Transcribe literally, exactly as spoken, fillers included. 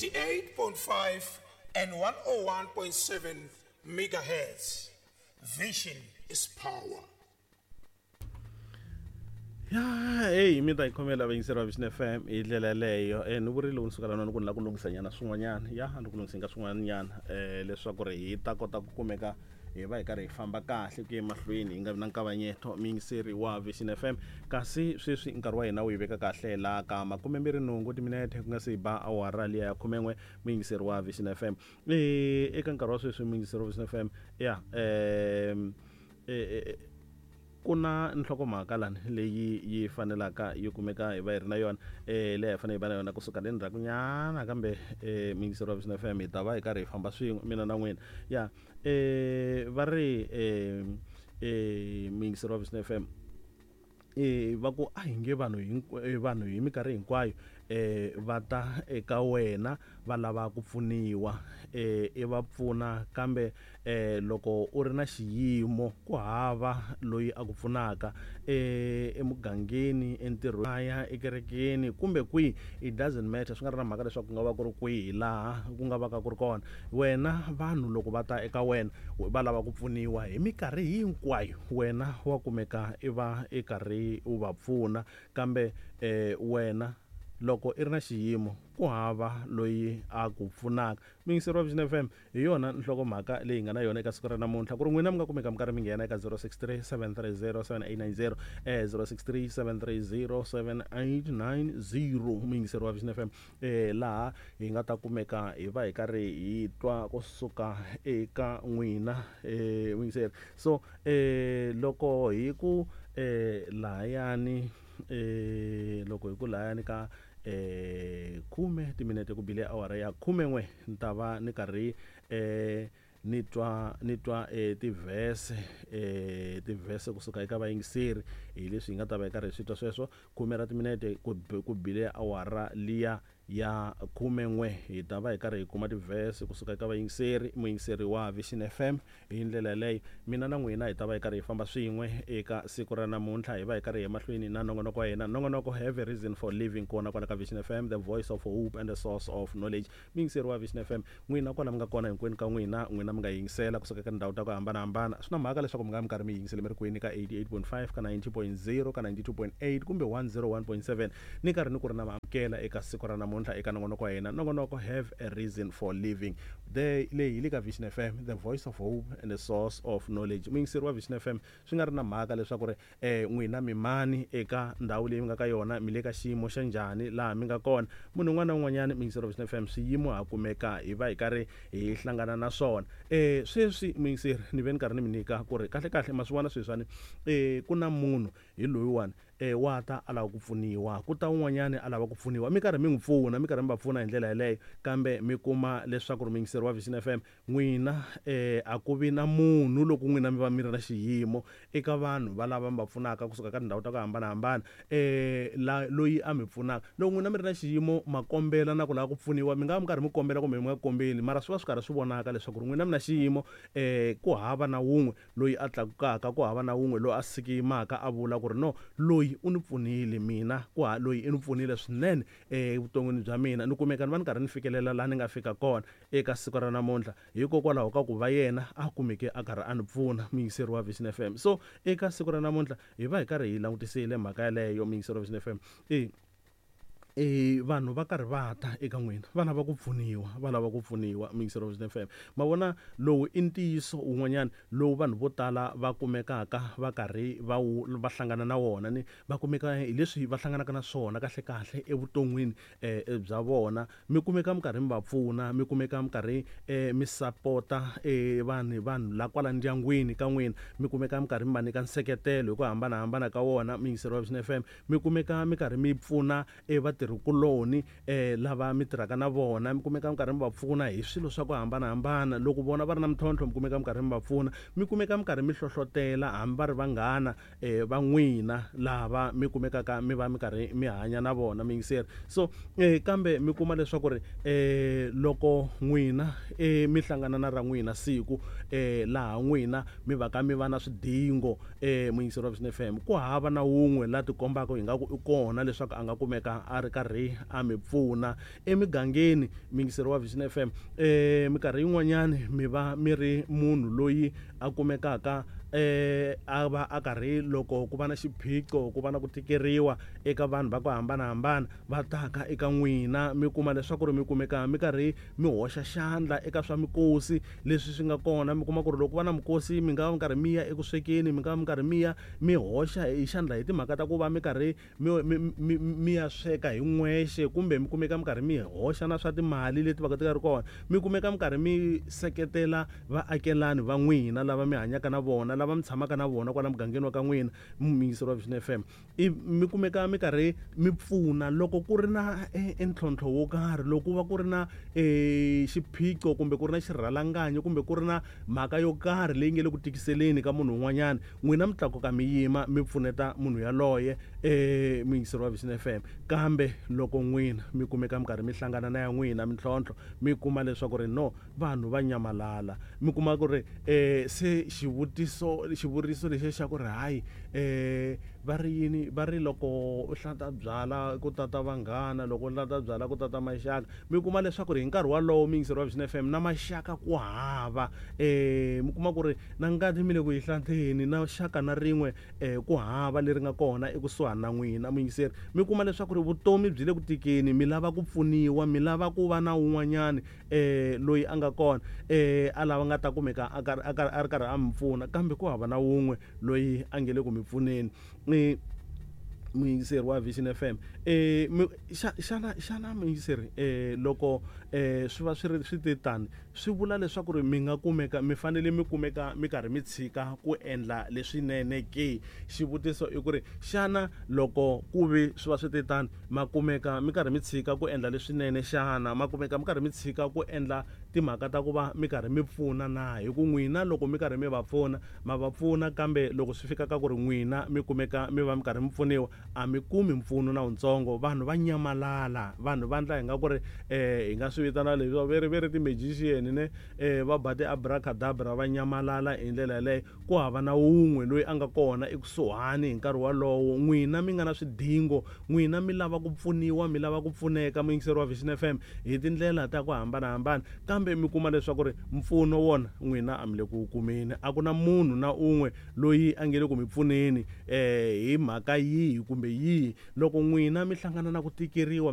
eighty-eight point five and one oh one point seven megahertz. Vision is power. Ya, hey, mi ta yi khomela vayingiseri va Vision F M hi ndlela yeleyo. Eh, ni vurile loko ni suka lana ni ku ni lava ku lunghisanyana swin'wanyana. Ya, ni ku lunghiseni ka swin'wanyana, eh, leswaku ri hi ta kota ku kumeka hi va hi karhi hi famba kahle ku ya emahlweni hi nga vi na nkavanyeto muyingiseri wa Vision F M. Kasi sweswi nkarhi wa hina wu yi veka kahle laha ka makumembirhi nhungu timinete ku nga se ba awara liya ya khumen'we muyingiseri wa Vision F M. Eh, eka nkarhi wa sweswi muyingiseri wa Vision F M, ya, eh, eh, eh, ku na nhlokomhaka lani leyi yi fanelaka yi kumeka hi va hi ri na yona, eh, leyi hi fanele hi va na yona kusuka le ndzhakunyana, kambe, eh, muyingiseri wa Vision F M hi ta va hi karhi hi famba swin'we mina na n'wina. Ya, eh, va ri, eh, eh, muyingiseri wa Vision F M, eh, va ku a hi nge vanhu hinkwa-, eh, vanhu hi minkarhi hinkwayo, eh, va ta eka wena va lava ku pfuniwa, eh, i va pfuna, kambe, eh, loko u ri na xiyimo ku hava loyi a ku pfunaka, eh, emugangeni, entirhweni, ya ekerekeni kumbe kwihi, it doesn't matter, swi nga ri na mhaka leswaku ku nga va ku ri kwihi laha ku nga va ka ku ri kona. Wena vanhu loko va ta eka wena va lava ku pfuniwa hi minkarhi hinkwayo, wena wa kumeka i va i karhi u va pfuna, kambe, eh, wena loko i ri na xiyimo ku hava loyi a ku pfunaka. Muyingiseri wa Vision F M, hi yona nhlokomhaka leyi hi nga na yona eka siku ra namuntlha, ku ri n'wina mi nga kumeka mi karhi mi nghena eka zero six three seven three zero seven eight nine zero, eh, zero six three seven three zero seven eight nine zero, muyingiseri wa Vision F M, eh, laha hi nga ta kumeka hi va hi karhi hi twa kusuka eka n'wina, eh, muyingiseri. So, eh, loko hi ku, eh, lahayani, eh, loko hi ku lahayani ka, eh, khume timinete ku bile awara ya khumen'we, ni ta va ni karhi, eh, ni twa, ni twa, eh, tivhese, eh, tivhese kusuka eka vayingiseri, hi leswi hi nga ta va hi karhi hi swi twa sweswo. Khume ra timinete ku b-, ku bile awara liya ya khumen'we, hi ta va hi karhi hi kuma tivhese kusuka eka vayingiseri, muyingiseri wa Vision F M. Hi ndlela yaleyo mina na n'wina hi ta va hi karhi hi famba swin'we eka siku ra namuntlha, hi va hi karhi hi emahlweni na nongonoko wa hina, nongonoko Have a Reason for Living, kona kwala ka Vision F M, the voice of hope and the source of knowledge. Muyingiseri wa Vision F M, n'wina kwala mi nga kona hinkwenu ka n'wina, n'wina mi nga yingisela kusuka eka tindhawu ta ku hambanahambana. Swi na mhaka leswaku mi nga mi karhi mi yingisele mi ri kwini, ka eighty-eight point five, ka ninety point zero, ka ninety-two point eight kumbe one zero one point seven, ni karhi ni ku ri na maamukela eka siku ra namuntlha eka nongonoko wa hina, nongonoko Have a Reason for Living. The leyi hi le ka Vision F M, the voice of hope and the source of knowledge. Muyingiseri wa Vision F M, swi nga ri na mhaka leswaku ri, eh, n'wina mi mani eka ndhawu leyi mi nga ka yona, mi le ka xiyimo xa njhani laha mi nga kona. Munhu un'wana na un'wanyana, muyingiseri wa Vision F M, swiyimo ha kumeka hi va hi karhi hi hlangana na swona. Eh, sweswi muyingiseri ni ve ni karhi ni mi nyika ku ri kahle kahle ma swi vona sweswiwani, eh, ku na munhu hi loyiwani, eh, wa ta a lava ku pfuniwa, ku ta un'wanyani a lava ku pfuniwa, mi karhi mi n'wi pfuna, mi karhi mi va pfuna hi ndlela yeleyo, kambe mi kuma leswaku ri muyingiseri wa Vision F M, n'wina, eh, a ku vi na munhu loko n'wina mi va mi ri na xiyimo eka vanhu va lava mi va pfunaka kusuka ka tindhawu ta ku hambanahambana, eh, la, loyi a mi pfunaka. Loko n'wina mi ri na xiyimo, ma kombela na ku lava ku pfuniwa, mi nga va mi karhi mi kombela kumbe mi nga kombeli, mara swi va swi karhi swi vonaka leswaku ri n'wina mi na xiyimo, eh, ku hava na wun'we loyi a tlakukaka, ku hava na wun'we loyi a sikimaka a vula ku ri no, loyi u ni pfunile mina, ku ha loyi i ni pfunile swinene evuton'wini bya mina, ni kumeka ni va ni karhi ni fikelela laha ni nga fika kona eka siku ra namuntlha, hikokwalaho ka ku va yena a kumeke a karhi a ni pfuna, muyingiseri wa Vision F M. So eka siku ra namuntlha hi va hi karhi hi langutisile mhaka yeleyo, muyingiseri wa Vision F M. E, e, vanhu va karhi va ta eka n'wina, va lava ku pfuniwa, va lava ku pfuniwa, muyingiseri wa Vision F M. Ma vona lowu i ntiyiso wun'wanyana lowu vanhu vo tala va kumekaka va karhi va wu, va hlangana na wona, ni va kumeka hi leswi va hlanganaka na swona kahle kahle evuton'wini, eh, bya vona. Mi kumeka mi karhi mi va pfuna, mi kumeka mi karhi, eh, mi sapota, eh, vanhu, vanhu la kwala ndyangwini ka n'wina, mi kumeka mi karhi mi va nyika nseketelo hi ku hambanahambana ka wona, muyingiseri wa Vision F M. Mi kumeka mi karhi mi pfuna, eh, vatirhikuloni, eh, lava mi tirhaka na vona, mi kumeka mi karhi mi va pfuna hi swilo swa ku hambanahambana. Loko vona va ri na mintlhontlho, mi kumeka mi karhi mi va pfuna, mi kumeka mi karhi mi hlohlotela hambi va ri vanghana, eh, va n'wina lava mi kumekaka mi va mi karhi mi hanya na vona, muyingiseri. So, eh, kambe mi kuma leswaku ri, eh, loko n'wina, eh, mi hlangana na ra n'wina siku, eh, laha n'wina mi va ka mi va na swidingo, eh, muyingiseri wa Vision F M, ku hava na wun'we la tikombaka ingaku i kona leswaku a nga kumeka a ri karhi a mi pfuna emigangeni. Muyingiseri wa Vision F M, eh minkarhi yin'wanyani mi va mi ri munhu loyi a kumekaka eh a va a karhi loko ku va na xiphiqo, ku va na ku tikeriwa eka vanhu va ku hambanahambana va taka eka n'wina, mi kuma leswaku ri mi kumeka mi karhi mi hoxa xandla eka swa mikosi leswi swi nga kona. Mi kuma ku ri loko ku va na mikosi mi nga va mi karhi mi ya eku swekeni, mi nga va mi karhi mi ya mi hoxa hi xandla hi timhaka ta ku va mi karhi mi, mi, mi, mi ya sweka hi n'wexe, kumbe mi kumeka mi karhi mi hoxa na swa timali leti va ka ti nga ri kona. Mi kumeka mi karhi mi seketela vaakelani va n'wina lava mi hanyaka na vona, lava mi tshamaka na vona kwala mugangeni wa ka n'wina, muyingiseri wa Vision F M. I mi kumeka mi karhi mi pfuna loko ku ri na e, e ntlhontlho wo karhi, loko ku va ku ri na e, xiphiqo kumbe ku ri na xirhalanganyi kumbe ku ri na mhaka yo karhi leyi nge le ku tikiseleni ka munhu un'wanyana, n'wina mi tlakuka mi yima mi pfuneta munhu yaloye, e, muyingiseri wa Vision F M. Kambe loko n'wina mi kumeka mi karhi mi hlangana na ya n'wina mintlhontlho, mi kuma leswaku ri no vanhu va nyamalala, mi kuma ku ri eh, se xivutiso xivuriso lexi xa ku ri hayi eh, va ri yini, va ri loko u hlanta byala ku tata vanghana, loko u hlanta byala ku tata maxaka. Mi kuma leswaku ri hi nkarhi walowo muyingiseri wa Vision F M na maxaka ku hava, eh, mi kuma ku ri na ngati mi le ku yi hlanteni na xaka na rin'we eh, ku hava leri nga kona ekusuhani na n'wina muyingiseri. Mi kuma leswaku ri vutomi byi le ku tikeni, mi lava ku pfuniwa, mi lava ku va na un'wanyani eh, loyi a nga kona eh, a lava nga ta kumeka a karhi, a karhi, a ri karhi a mi pfuna, kambe ku hava na wun'we loyi a nge le ku mi pfuneni. Ni muyingiseri wa Vision F M, eh, mi, xa, xana, xana muyingiseri, eh, loko, eh, swi va swi ri swi te tani, swi vula leswaku ri mi nga kumeka mi fanele mi kumeka mi karhi mi tshika ku endla leswinene ke? Xivutiso i ku ri xana loko ku vi swi va swi te tani, ma kumeka mi karhi mi tshika ku endla leswinene xana? Ma kumeka mi karhi mi tshika ku endla timhaka ta ku va mi karhi mi pfuna na? Hi ku n'wina loko mi karhi mi va pfuna, ma va pfuna, kambe loko swi fika ka ku ri n'wina mi kumeka mi va mi karhi mi pfuniwa, a mi kumi mpfuno na wuntsongo. Vanhu va nyamalala, vanhu va ndla hi nga ku ri, eh, hi nga swi vitana leswi va ri, va ri ti-magician ne, eh, va ba ti-abracadabra, va nyamalala hi ndlela yaleyo. Ku hava na wun'we loyi a nga kona ekusuhani hi nkarhi walowo. N'wina mi nga na swidingo, n'wina mi lava ku pfuniwa, mi lava ku pfuneka, muyingiseri wa Vision F M, hi tindlela ta ku hambanahambana, kambe mi kuma leswaku ri mpfuno wona n'wina a mi le ku wu kumeni. A ku na munhu na un'we loyi a nge le ku mi pfuneni, eh, hi mhaka yihi kumbe yihi. Loko n'wina mi hlangana na ku tikeriwa,